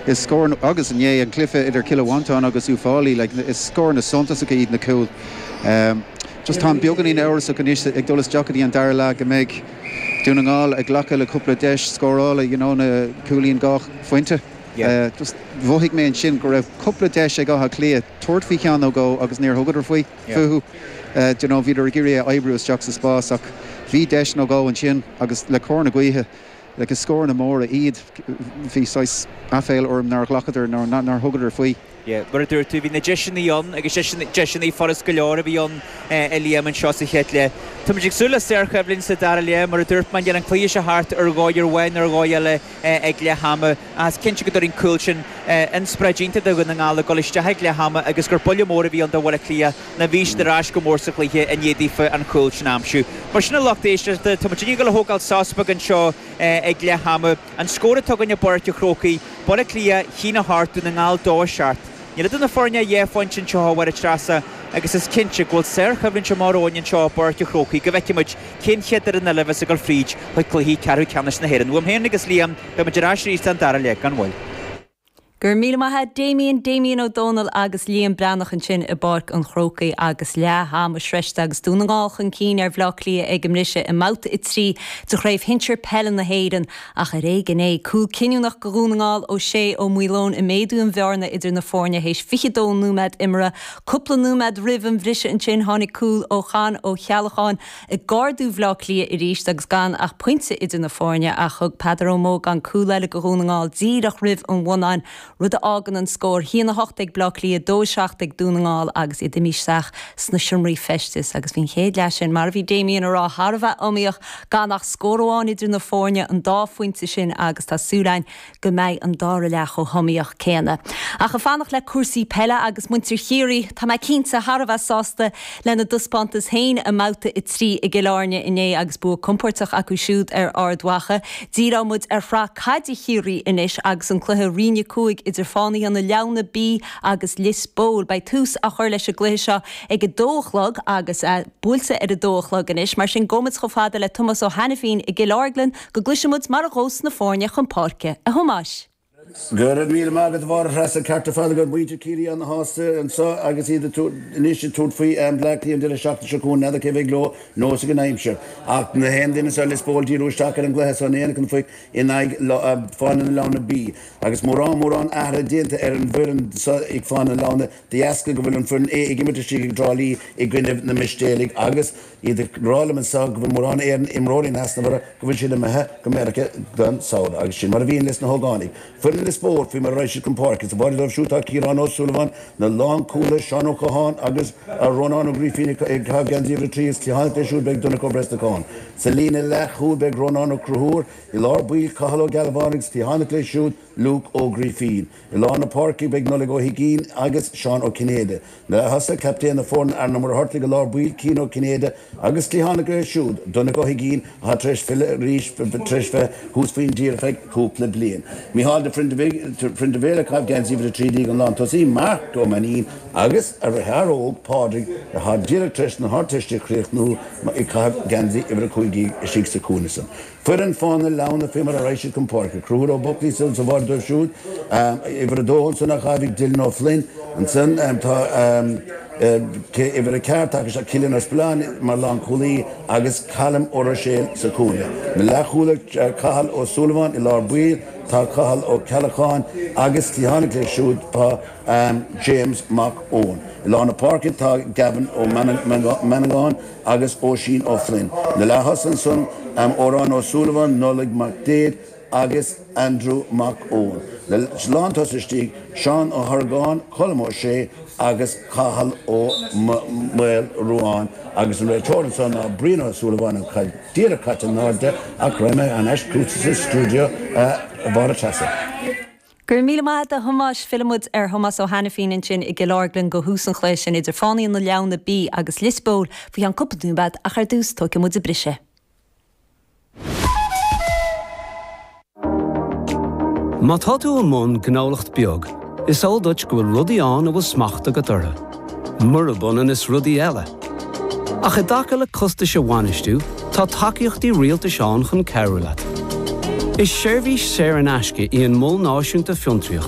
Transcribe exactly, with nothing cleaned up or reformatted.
Is scór agus inné an cluiche idir Cill Mhantáin agus Uíbh Fhailí, like, is scóranna suntasacha iad na cúil. Um, just tá beagáinín amhrasach anois ag dul isteach an dara leath go mbeidh Dún na nGall ag glacadh le cúpla deis scórála you know, na cúilín dhá phointe. Yeah. Uh, just mhothaigh mé ansin go raibh cúpla deis ag Áth Cliath tabhairt faoi cheann nó dhó agus níor thugadar faoi Yeah. fúthu. Uh, you know, bhíodar ag iarraidh oibriú isteach sa spás ach bhí deis nó dhó ansin agus le cor na gaoithe le go scóranna móra iad bhí saghas aiféala orm nár ghlacadar nár nár thugadar faoi. Yeah, mar a dúirt tú bhí na deiseanna ann agus deiseanna furast go leor a bhí ann a Liam anseo sa chéad leath. Tá ag súil le sárchoimhlint sa dara leath mar a dúirt man an cluiche seo thart ar dhóigh amháin ar dhóigh eile ag leath ama as cinnte go dtabharfaidh an cúl sin inspioráid iontach do Dhún na nGall ag dul isteach ag leath ama agus gur buille mór a bhí ann do Bhaile Átha Cliath na bhí siad ar ais go mór sa chluiche i ndiaidh daofa an cúl sin a aimsiú. Mar sin a lucht éisteachta tá muid ag tógáil sos beag anseo ag leath ama an scór atá againn i bPáirc an Chrócaigh, Baile Átha Cliath haon a hocht Dún na nGall dó a seacht. Níl idir na foirne dhá phointe anseo a Mháire Treasa agus is cinnte go bhfuil sárchoimhlint amach romhainn anseo i bPáirc an Chrócaigh go bhfeicfimid cén chéad fhoireann eile a bheas ag dul fríd chuig cluichí ceathrú ceannais na hÉireann. Uaim féin agus Liam beimid ar ais arís an dara leath gan mhoill. Gur míle maithe Damien Damien Ó Dónaill agus Liam Breathnach ansin i bPáirc an Chrócaigh agus leath ama sroichte agus Dún na nGall chun cinn ar Bhaile Átha Cliath ag an mbriseadh i mbabhta a trí de chraobh shinsir peile na hÉireann ach ar éigean é cúl cinniúnach do Dhún na nGall ó Shea Ó Maoileoin ag méadú an bhearna idir na foirne théis fiche dó nóiméad imeartha, cúpla nóiméad roimh an bhriseadh ansin tháinig cúl ó Chan Ó Ceallacháin ag ardú Bhaile Átha Cliath arís agus gan ach pointe idir na foirne ach thug Peadar Ó Mógáin cúl eile do Dhún na nGall díreach roimh an bhonnán rud a fhágann an scór haon a hocht ag Baile Átha Cliath dó seacht ag Dún na nGall agus iad imithe isteach sna seomraí feistis agus bhí an chéad leath sin mar a bhí Damien ag rá thar a bheith iomaíoch gan ach scór amháin idir na foirne an dá phointe sin agus tá súil againn go mbeidh an dara leath chomh hiomaíoch céanna. Ach ag fanacht le cúrsaí peile agus muintir Chiarraí tá mé cinnte thar a bheith sásta lena dtaispeántas féin i mbabhta a trí i gCill Airne inné agus bua compordach acu siúd ar Ard Mhacha. Díreoidh muid ar shraith caide Chiarraí anois agus an cluiche Roinn a cúig idir Fánaithe na Leamhna B agus Lios Póil. Beidh tús á chur leis an gcluiche seo ag a dó a chlog agus uh, buailte ar a dó a chlog anois, mar sin gabhfaidh muid chomh fada le Tomás Ó Hainifín i gCill Orglan go gcloisfidh muid mar a ghabhfas na foirne chun páirce a Thomáis. Gura míle mágad bhar chreasa cearta fada go muintir Chiarraí ana-shásta anseo agus iad anois ag tabhairt faoi Bleá Cliath an deireadh seachtaine seo chugainn n'fheadar cé bheidh leo nós ag an aimsir. Ach na haon duine sa Lios Póil díriú isteach ar an gcluiche san aon chun faoi in aghaidh Fánaithe na Leamhna B. Agus mórán mórán athruithe déanta ar an bhfoireann ag Fánaithe na Leamhna de dheasca go bhfuil an foireann A ag imirt istigh i dTrá Lí i gcoinne na Mistéalaigh agus iad ag rá liom anseo go bhfuil mórán éan imreoirí easnamhara go bhfuil siad imithe go Meiriceá don samhradh agus sin mar a bhíonn leis na hógánaigh. Foireann Lios Póil faoi mar a raghaidh siad chun páirce sa bháide dóibh siúd tá Ciarán Ó Súilleabháin na lánchúlaithe Seán Ó Catháin agus Rónán Ó Grífín ag caitheamh geansaí uimhir a trí is cliathánach leis siúd beidh Donncha Ó Brosnacháin. Sa líne leathchúil beidh Rónán Ó Conchúir i lár baill Cathal Ó Gealbháin agus cliathánach leis siúd Luke Ó Grífín. I lár na páirce beidh Nollaig Ó hUiginn agus Seán Ó Cinnéide. Na thosaithe captaen na foirne Aaron Ó Muircheartaigh i lár baill Cian Ó Cinnéide agus cliathánach leis siúd Donncha Ó hUiginn atá tar éis filleadh arís tar éis bheith thuas faoin dtír feadh cúpla bliain. Micheál de Prindibhéal ag caitheamh geansaí uimhir a trí déag an lántosaí Marc Ó Mainín agus a dheartháir óg Pádraig atá díreach tar éis na hArdteiste a chríochnú ag caitheamh geansaí uimhir a cúig déag istigh sa chúinne san. Foireann Fánaithe na Leamhna faoi mar a raghaidh siad chun páirce. Conchúr Ó Buclaí sa bháide dóibh siúd uimhir a dó ansan á chaitheamh Dylan Ó Flynn ansan tá uimhir a ceathair tá sé Cillian Ó Spillane mar lánchúlaí agus Callum Ó Ruiséil sa chúinne. Na leathchúlaithe Cathal Ó Súilleabháin i lár baill tá Cathal Ó Ceallacháin agus cliathánach leis siúd tá James Mac Eoin. I lár na páirce tá Gavin Ó Manangáin agus Oisín Ó Flynn. Na leath ansan Órán Ó Súilleabháin, Nollaig Mac Déad agus Andrew Mac Eoin. Le lántosaithe istigh Seán Ó hArgáin, Colm Ó Sé agus Cathal Ó Maolruáin agus an réiteoir ansan ná Brian Ó Súilleabháin an chaid díreach caite in airde ach raghaidh mé ar ais chugatsa sa stiúideo a Mháire Treasa. Gur míle maith a Thomáis fillfidh muid ar Thomás Ó Hainifín ansin i gCill Orglan go thús an chluiche sin idir Fánaithe na Leamhna B agus Lios Póil faoi cheann cúpla nóiméad ach ar dtús tógfaidh muid briseadh. Má tá tú i mbun gnólacht beag, is eol duit go bhfuil rudaí ann a bhfuil smacht agat orthu. Murab ionann is rudaí eile. Ach i dtaca le costais a bhainistiú, tá tacaíochtaí rialtais ann chun cabhrú leat. Is seirbhís saor in aisce í an Mol Náisiúnta Fiontraíochta.